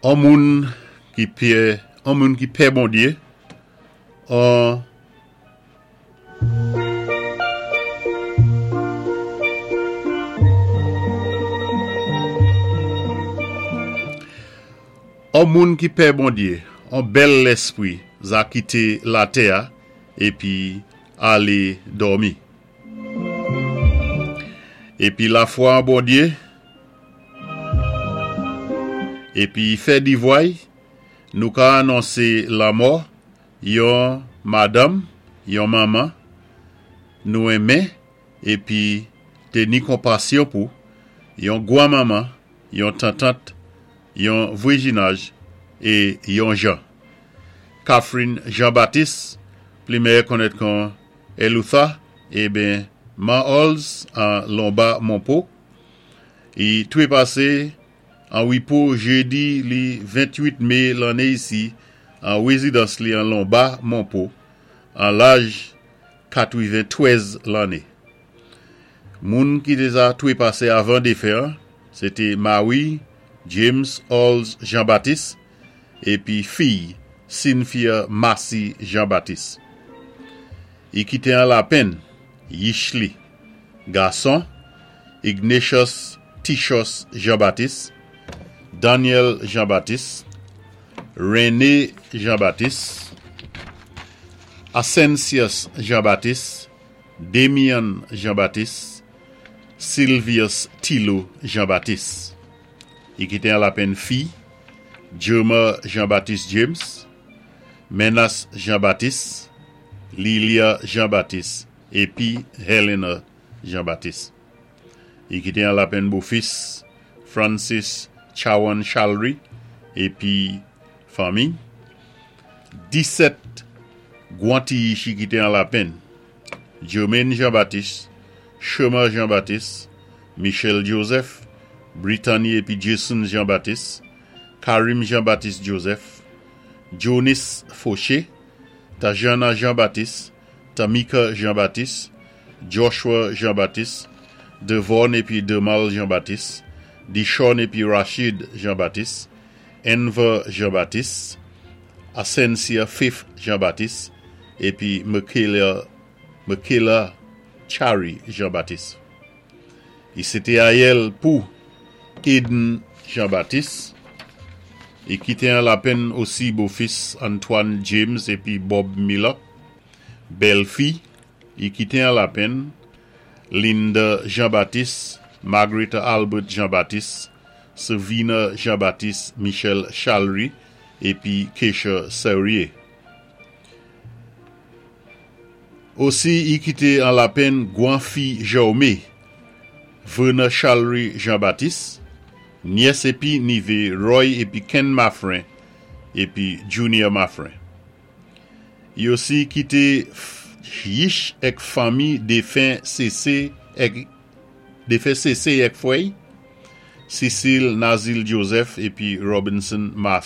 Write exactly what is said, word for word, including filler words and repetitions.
An moun ki pè, an moun ki pè Bondyé, an An moun ki pè Bondyé, an bèl léspwi za kité latè-a épi alé dòmi. Épi lafwa an Bondyé, épi fè divway, nou ka anonsé lanmò yon madanm, yon manman, nou enmen épi té ni konpasyon pou, yon gwan manman, yon tantant, yon vwéjinaj é yon jan. Catherine Jean-Baptiste, pli mèyè konnèt kon Elutha, eben Ma Halls an Lomba Monpo, i twépasé an wipo jédi li ventuit mé lanné isi an wézidans li an Lomba Monpo an laj katwiven-twèz lanné. Moun ki té za twépasé avan défen an, sé té mari James Halls Jean-Baptiste épi fiy Cynthia Massy Jean-Baptiste. I kité an lapenn yich li gason Ignatius Tichos Jean-Baptiste, Daniel Jean-Baptiste, René Jean-Baptiste, Ascensius Jean-Baptiste, Damien Jean-Baptiste, Sylvius Tilo Jean-Baptiste. I kité an lapenn fi, Jerma Jean-Baptiste James, Menas Jean-Baptiste, Lilia Jean-Baptiste, épi Helena Jean-Baptiste. I kité an lapenn bofis Francis Chawan Chalry épi fanmi. Disèt gwan ti yich i kité an lapenn. Jermaine Jean-Baptiste, Shema Jean-Baptiste, Michel Joseph, Brittany épi Jason Jean-Baptiste, Karim Jean-Baptiste Joseph, Jonis Fauché, Tajana Jean-Baptiste, Tamika Jean-Baptiste, Joshua Jean-Baptiste, Devon épi Demal Jean-Baptiste, Dishon épi Rachid Jean-Baptiste, Enver Jean-Baptiste, Ascensia Fifth Jean-Baptiste, épi Michaela, Michaela Chari Jean-Baptiste. I sé té ayèl pou Eden Jean-Baptiste, i kité an lapenn osi bofis Antoine James épi Bob Miller, bèlfi, i kité an lapenn Linda Jean-Baptiste, Margaret Albert Jean-Baptiste, Savina Jean-Baptiste, Michel Chalry, épi Keisha Serrier. Osi, i kité an lapenn gwan fi Jaume, Verna Chalry Jean-Baptiste, nyès épi nivé Roy épi Ken Maffrin, épi Junior Maffrin. I osi kité yich èk fanmi défen C C èk défen C C èk fwè'y, Cecile Nazil Joseph épi Robinson Martha.